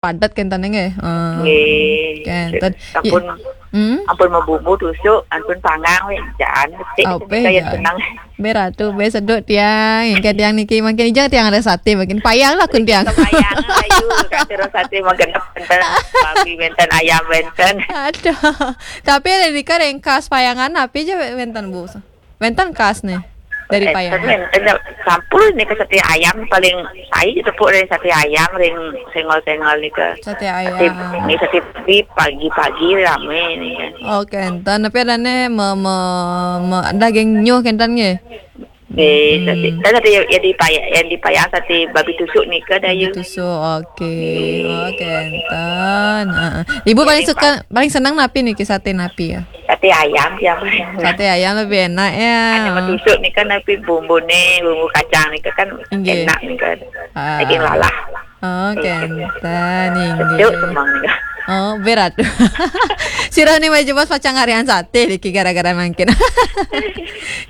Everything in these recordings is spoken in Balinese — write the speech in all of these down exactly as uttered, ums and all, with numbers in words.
padet kenten nggih. Eh, nggih. Kenten. Sampun, hmm? Ampun mabumbu tusuk, ampun panggang wéh, jan becik. Apa kaya ya? Seneng. Bé ratu, bé seduk tiang, yang tiang niki makin ijang tiang ada sate, makin payang lah kun tiang. Payang ayu, kacero sate makin wénten, babi wénten, ayam wénten. Aduh. Tapi ada nika ring khas payangan apa aja wénten, Bu? Wénten khas nih dari payangan. Wénten, sampun nika sate ayam paling saya tepuk dari sate ayam ring senggol-senggol nika. Sate ayam. Sate, ini sate di pagi-pagi rame nih kan. Oke, enten. Tapi ada nih me, me, me, daging nyuh kenten nggih. Nggih, sate, kan sate yang dipayang, yang dipayang sate babi tusuk nika, Dayu. Babi tusuk, oke. Nggih. Oke, enten. Heeh. Ibu paling suka, paling senang napi niki, sate napi ya? Sate ayam ya, paling enak. Sate ayam lebih enak ya. Ada tusuk nika napi bumbune, bumbu kacang nika kan enak nika. Ah. Daging lalah. Oh, kenten, inggih. Cuk, semang nih. Oh, berat. Sira ni maju bos pacang harian sate niki gara-gara mangkin.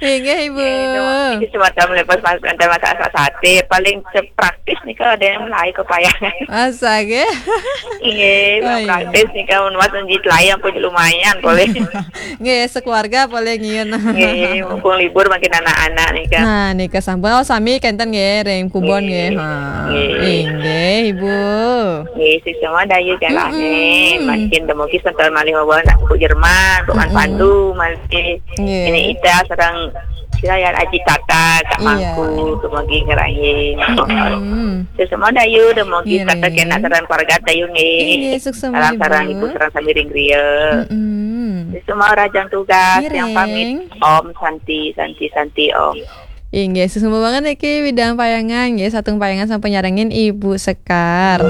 Inggih, Ibu. Eh, cuma, ini cuma tamu lepas mas, antar masak sate. Paling se-, praktis nih kalau ada yang mulai ke payangan. Masa ke? Iya, oh, iya. Praktis nih kalau mas menjit layang pun lumayan boleh. Nggih, sekeluarga boleh ngiun. Nggih, mumpung libur makin anak-anak nih kan. Nah, nika sampun. Oh, sami kenten nggih, ring kubon nggih. Nggih. Ha. Nggih. Inggih, Ibu. Nggih, sesama Dayu jalan nih. Mm-mm. Makin demogi sentuh malih mawa anak Bu Jerman, Bu Man Pandu, malih. Nggih. Ini Ida sareng sira ya Aji Tata, Kak Mangku, demogi ngerahin. Mm-mm. Sesama Dayu, demogi kata kena sareng keluarga Dayu nggih. Inggih, suksema, sareng Ibu, sareng sami ring griya. Mm-mm. Sesama rajang tugas yang pamit. Om Santi, Santi, Santi, Om. Inggih, suksma banget niki bidang payangan nggih, satung payangan sampun nyarengin Ibu Sekar.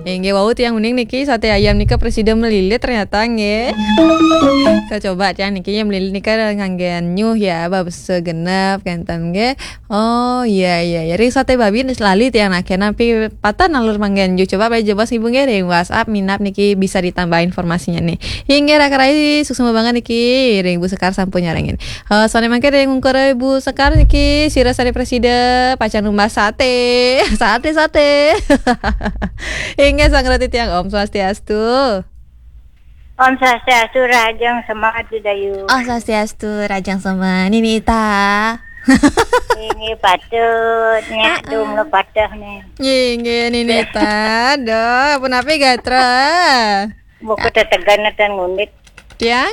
Inggih, wau tiang uning niki sate ayam nika presida melilit ternyata nggih. Kita coba tiang niki yang melilit nika nganggen nyuh ya, babes segenep kenten nggih. Oh, iya, iya, iya. Ring sate babi lali tiang nak kena pi patah nalur manggen nyuh. Coba bae jebos Ibu nggih ring WhatsApp minap niki bisa ditambah informasinya nih. Inggih, raka rai, suksma banget niki ring Ibu Sekar sampun nyarengin. Eh, sane mangke ring ungkur Ibu Sekar niki, sira sare presida pacang numbas sate. Sate, sate. Inggih, sang roti tiang, Om Swastiastu. Om Swastiastu, rajang semangat di Dayu. Om Swastiastu, rajang semangat. Nini Ita. Ini patut, nyak dum lo patah nih. Inggih, Nini Ita. Aduh, apa napi gatra? Buku tetegan dan ngundit. Tiang?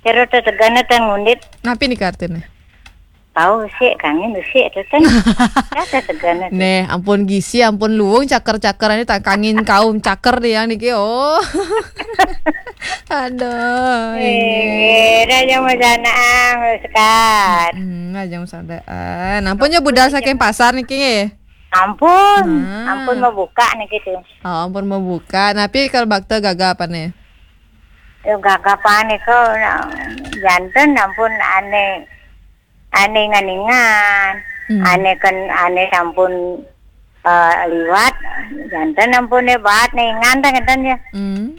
Kira tetegan dan ngundit. Napi nih kartune? Tahu sih, kami sih, itu kan. Kata tetegan. Neh, ampun gisi, ampun luwung, caker-caker ini tak kangin kaum caker deh yang niki. Oh. Aduh, eh, ini. Raja Majanang, Sekar. Hmm, Raja Majanang. Ampun ya budal saking pasar niki nggih. Ampun, ampun mau buka niki tuh. Oh, ampun mau buka. Napi kalau bakte gaga apa nih? Yo gaga apa nih kok, janten ampun ane, ane nganingan. Hmm. Ane kan, ane sampun, eh, liwat, janten ampun e baat ningan ta ngenten ya. Hmm.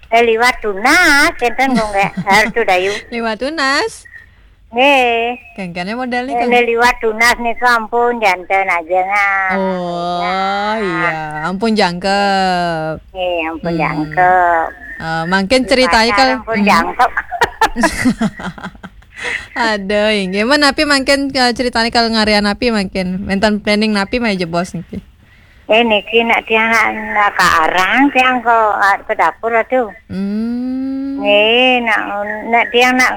Eh, liwat tunas, ngenten kok nggih. Hartu Dayu. Liwat tunas. Nggih. Kengkene model nika. Ini liwat tunas nika ampun janten aja nah. Oh, iya. Ampun jangkep. Nggih, ampun jangkep. Eh, mangkin ceritanya kalau ampun jangkep. Aduh, inggih. Men napi mangkin, eh, ceritanya kalau ngarian napi mangkin. Wenten planning napi mah jebos niki. Eh, niki nak tiang nak, nak ke arang tiang ke, ah, ke dapur atuh. Hmm. Nggih, nak, nak tiang nak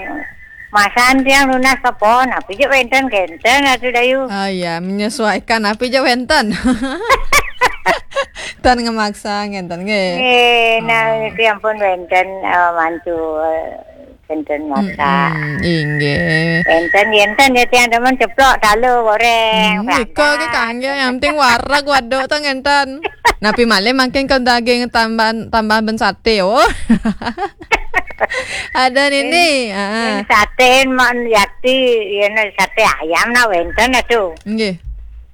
masan tiang nunas kepon, apa je wenten kenten atuh Dayu. Oh iya, menyesuaikan apa je wenten. Tan ngemaksa ngenten nggih. Nggih, nah, niki ampun wenten, eh, mantu, eh, Kenten masak. Mm-mm, inggih. Kenten, kenten ya tiang demen ceplok talu goreng. Hmm, nika ke kangge, yang penting wareg waduk to ngenten. Napi malih mangkin ke daging tambahan, tambahan ben sate, oh. Ada nini, ah. Sate man yakti, ya, sate ayam na wenten atuh. Nggih.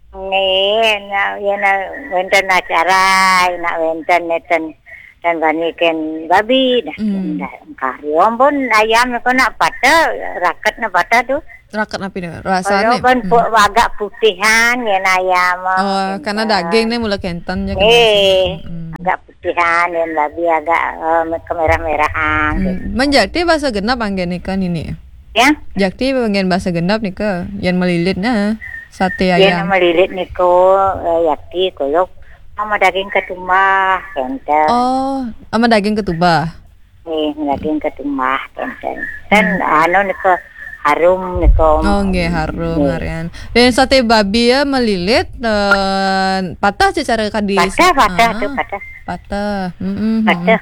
Nggih, na, ya, na wenten acara, na wenten neten. Dan baniken babi, dah, hmm, dah, kari. Ampun ayam ko nak patah, raket na patah tuh. Raket napi nih? Kalau rasanya kan pu- agak putihan ya, ayam. Oh, karena daging nih mula kenten ya. Eh, agak putihan ya, babi agak eh, kemerah-merahan. Hmm. Menjakti bahasa genap anggen nika nini. Ya? Jakti anggen bahasa genap nika, yang melilit nah, sate ayam. Yang melilit niko, eh, yakti kolok sama daging ketumbah, kenten. Oh, sama daging ketumbah. Eh, daging ketumbah, kenten. Dan hmm. Anu niko harum niko. Oh, nggih, harum harian. Dan sate babi ya melilit, eh, patah secara kadis. Patah, patah ah, tuh, patah. Patah. Mm-mm. Patah.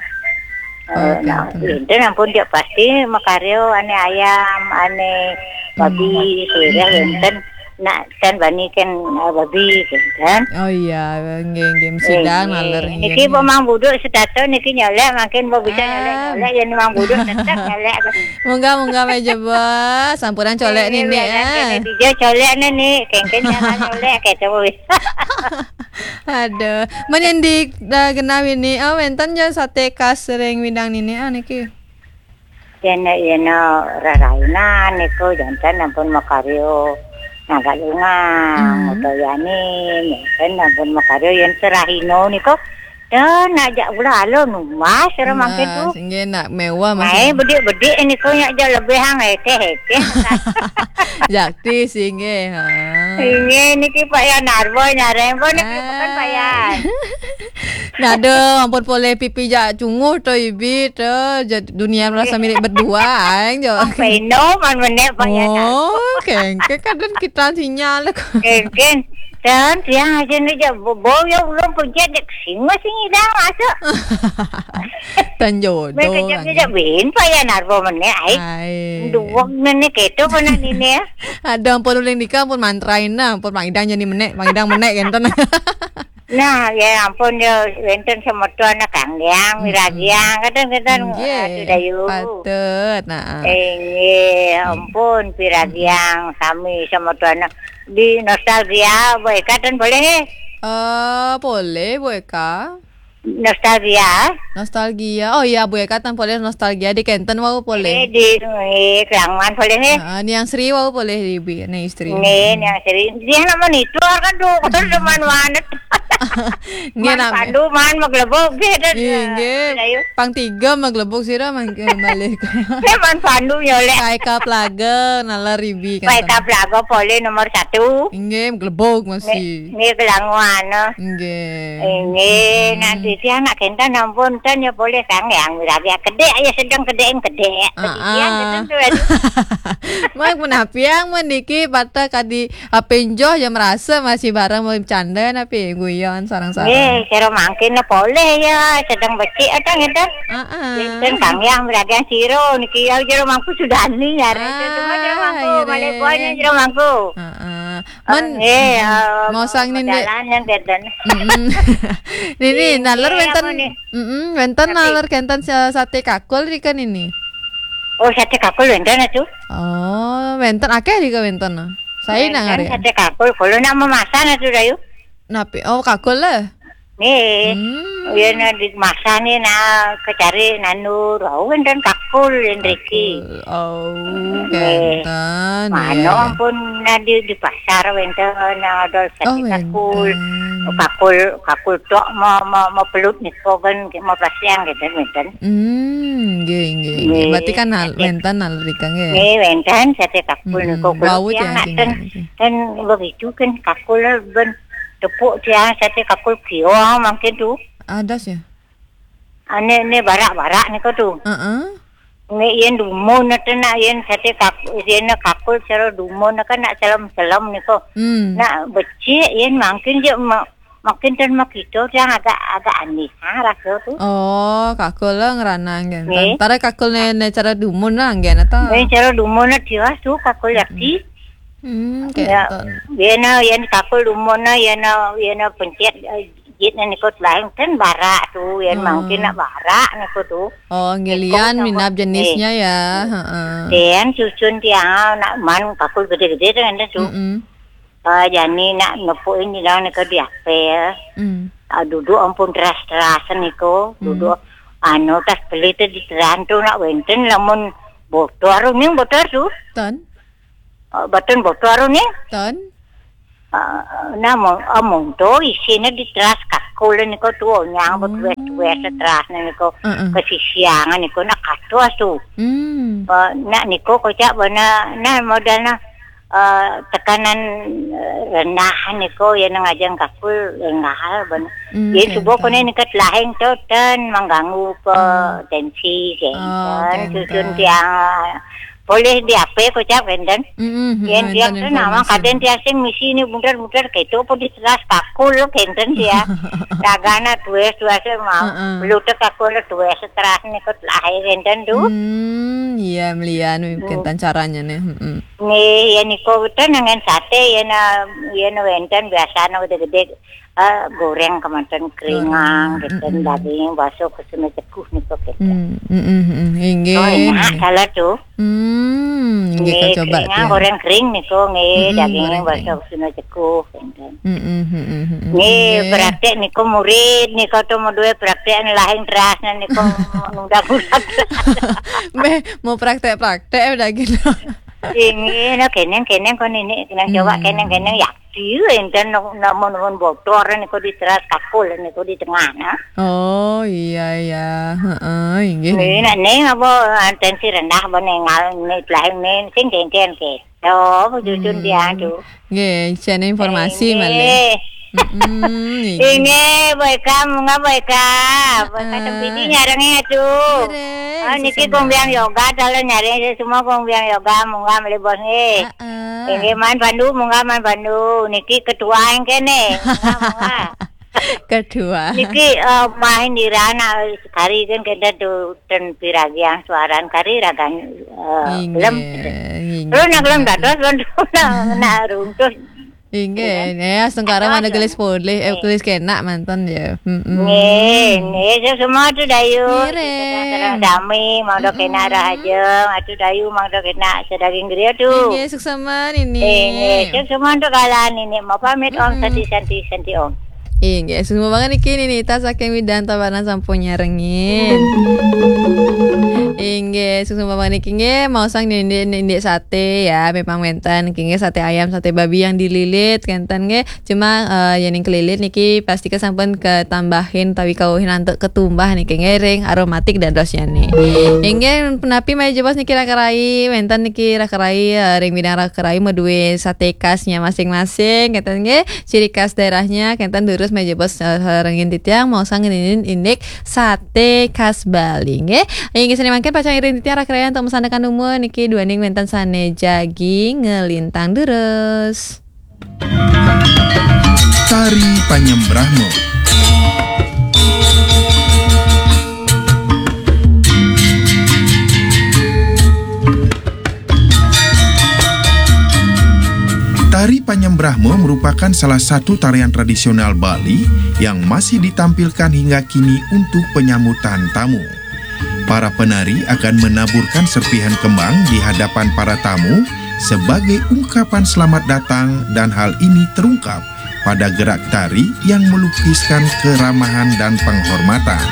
Eh, nah, enten ampun dia pasti makaryo ane ayam, ane babi, hmm. Sirah enten. Nak ten bani kan eh, babi kan. Oh iya, nggih nggih, sidang naler nggih. Niki pemang buduk setato niki nyolek, makin mau bisa nyolek-nyolek ya memang buduk tetap nyolek. Munggah munggah meja bos, sampuran colek nini ya. Dia colek nini, kengken jangan nyolek kayak cowok. Aduh, men yang di uh, genah ini, oh wenten ya sate khas ring Widang nini ah niki. Yen yen rarainan niku janten ampun makaryo nagalungan hmm. Utawi yani, janten ampun makaryo yen serahino niku. Dan ajak pula alon mas ora mangke tu. Sehingga nak mewah mas. Mai bedik-bedik niku nyak jak lebih hang hekeh-hekeh. Jakti sehingga ha. Sehingga niki Pak Yan Arbo nyareng pun niki bukan Pak Yan. Nah, aduh, ampun poleh pipi jak cunguh to ibi to, dunia merasa milik berdua aing jo. Peno man menek payah. Oh, kengke kadang kita sinyal. Kengken. Dan tiang aja ni jak bau ya ulun pencet dek singa sini dah masuk. Tan jodoh. Mereka jak bin payah narbo menek ai. Dua menek itu pernah ini ya. Ada ampun uling nikah ampun mantrain nah, ampun pangidang jadi menek, pangidang menek kenten. Nah, ya ampun ya wenten semeton kanggiang, miragiang, kadang-kadang nggih, aduh dayu. Patut, nah. Inggih, ampun piragiang sami semeton di nostalgia, baik kadang boleh eh. Eh, boleh, Bu Eka. Nostalgia. Nostalgia. Oh iya, Bu Eka tan boleh nostalgia di kenten wau boleh. Eh, di eh, Kelaman boleh eh. Heeh, Niang Sri wau boleh di bi, ni istri. Ni Niang Sri. Dia nak monitor kan tu, kan teman wanet. Nggih, man nak pandu man maglebok ge dan. Nggih, nggih. Pang tiga maglebok sira mangke balik. Dia man pandu nyolek. Paika plaga nalar ribi kan. Paika plaga pole nomor satu. Nggih, maglebok masih. Nggih, kelanguan. Nggih. Nggih, nanti dia nak kenten ampun tan ya boleh sang yang rabi kedek ya sedang kedek kedek. Dia kenten tu. Mak menapiang mendiki patah kadi Ape njoh ya merasa masih bareng mau bercanda napi guyon sareng-sareng. Eh, kira mangkin lah boleh ya, sedang becik ada ngeten. Heeh. Ngeten kang yang beragian siro niki ya jero mangku sudah ni ya. Cuma jero mangku, balik buahnya jero mangku. Heeh. Man, eh, mau sang ni jalan yang ngeten. Nini nalar wenten. Heeh, wenten nalar kenten sate kakul ikan ini. Oh, sate kakul wenten tu. Oh, wenten akeh dika wenten. Saya nak ngare. Sate kakul, kalau nak memasan itu dayu. Napi? Oh, kakul lah. Nih, hmm. Iya nak di masa ni nak kecari nandur, oh wenten kakul yang riki. Oh, wenten. Mano ampun nak di, di pasar wenten nak ada sate kakul. Kakul, kakul tok mau mau mau pelut ni kogan mau pasiang gitu wenten. Hmm, nggih nggih. Berarti kan wenten nalar rika nggih. Nggih, wenten sate kakul niku. Wau tiang nak ten, ten begitu kan kakul ben tepuk tiang sate kakul kio mangkin tu. Ada sih. Ane ne barak-barak niku tu. Heeh. Nggih yen dumun nete nak yen sate kakul yen kakul cara dumun kan nak selem-selem niku. Hmm. Nak becik yen mangkin je makin ten makito yang agak agak aneh ha rasa tu. Oh, kakul lah ngeranang kan. Nggih. Tara kakul ne, ne cara dumun lah anggen atau? Ne cara dumun lah tiwas tu kakul yakti. Hmm, ya. Yen yen kakul dumun na yen yen pencet jit ne nikut lain ten barak tu yen mangkin nak barak niku tu. Oh, ngelian minap jenisnya ya. Heeh. Yen cucun tiang nak man kakul gede-gede tu kan tu. Heeh. Ah, jani nak nepuk ini dah nak ke diapel. Hmm. Ah, duduk ampun teras-teras niku, hmm. Duduk anu tas beli tu di terantu nak wenten lamun botol ning botol tu. Tan. eh, boten bocor nih. Ten? Eh, nah, mo-, eh, monto isine di teras kakul niku tuh, nyang, hmm, betuwes-tuwes terasne niku, heeh, kesisiangan niku, nah, kados tuh. Hmm. Eh, nah, niku kocak bana, nah, modalna, eh, tekanan, eh, rendah niku, ya, nang ajeng kakul rendah bana. Hmm, ya, subuh kenten. Kone niku lahing to ten mengganggu ke, hmm, tensi, oh, kenten. Kenten. Susun tiang, boleh di A P kocak kenten. Mm-mm, yen mm-mm, tiang ten nama informasi. Kaden tiang sing misi ini muter-muter gitu, apa di teras kakul kenten ya. Dagana tuwes-tuwes mau. Heeh. Lutek kakul tuwes teras niku lahir kenten tuh. Hmm, iya, melian, hmm, kenten caranya nih. Mm-mm. Nih, ya niku ten nengen sate, ya na, ya na wenten biasanya udah gede. Eh, goreng kemanten keringang, goreng, gitu, mm-mm, daging, bakso, kesuna ceguh niku, gitu. Hmm, mm-mm, mm-mm. Inggih. Oh, enak, salah tuh. Hmm, inggih, nggih, coba keringang, tiang. Goreng kering niku, nggih, mm-mm, daging, goreng bakso, kering, kesuna ceguh, gitu. Mm-mm, mm-mm, mm-mm. Nggih, inggih. Praktek niku murid niku tuh mau duwe praktek lahing terasnya niku nunda bulan. Meh, mau praktek-praktek udah gitu. Inggih, no, keneng, keneng, kon ini, keneng coba, hmm, keneng, keneng, ya. Iya, enten namun-namun bocor niku di teras kakul niku di tengah, nah. Oh, iya, iya. Heeh, inggih. Nih, nek ning apa, tensi rendah apa ning ngal-, ning lahing ning sing kengken ke. Oh, cucun, hmm, dia tuh. Nggih, jane informasi, eh, malih. Nggih. Mm-mm, inggih. Inggih, Boy Ka, munggah Boy Ka. Boy Ka, heeh, tempiti nyarenge atuh. Nggih, oh, niki sesama. Kong Biang Yoga, tolong nyarenge semua Kong Biang Yoga, munggah malih bos nggih. Heeh. Inggih, Man Pandu, munggah Man Pandu. Niki ketua yang kene. Munggah, munggah. Ketua. Niki, eh, main di rana sekali kan kita tuh ten piragian suaran kari ragan, eh, inggih, gelem. Inggih. Terus nak gelem dados pun nak, nak runtuh. Inggih, ya, sengkara mana gelis polih, eh, gelis kenak mantan ya. Mm-mm. Nggih, nggih, semua tuh Dayu. Nggih, Reng. Sami, mangda kenak, mm-mm, rahajeng, atuh Dayu mangda kenak sedaging griya tuh. Inggih, suksma nini. Inggih, suksma untuk kalian nini. Mau pamit, Om. Mm-mm. Santi, santi, santi, Om. Inggih, suksma banget niki nini. Tas saking Widan Tabanan sampun nyarengin. Inggih, suksma banget niki nggih, mau sang nini, nini sate ya, memang wenten niki nggih, sate ayam, sate babi yang dililit, kenten nggih. Cuma, eh, yen ning kelilit niki pasti kesampun ketambahin tawi kauhin antuk ketumbah niki nggih ring aromatik dadosnya nih. Inggih, punapi malih jebos niki raka rai, wenten niki raka rai, eh, ring bidang raka rai maduwe sate khasnya masing-masing, kenten nggih, ciri khas daerahnya, kenten durus malih jebos, eh, rengin titiang, mau sang ngenin indik sate khas Bali nggih. Inggih, sane mangkin pacang iring titiang raka rai antuk masandekan umur niki duaning wenten sane jagi ngelintang durus. Tari Panyembrahma. Tari Panyembrahma merupakan salah satu tarian tradisional Bali yang masih ditampilkan hingga kini untuk penyambutan tamu. Para penari akan menaburkan serpihan kembang di hadapan para tamu sebagai ungkapan selamat datang, dan hal ini terungkap pada gerak tari yang melukiskan keramahan dan penghormatan.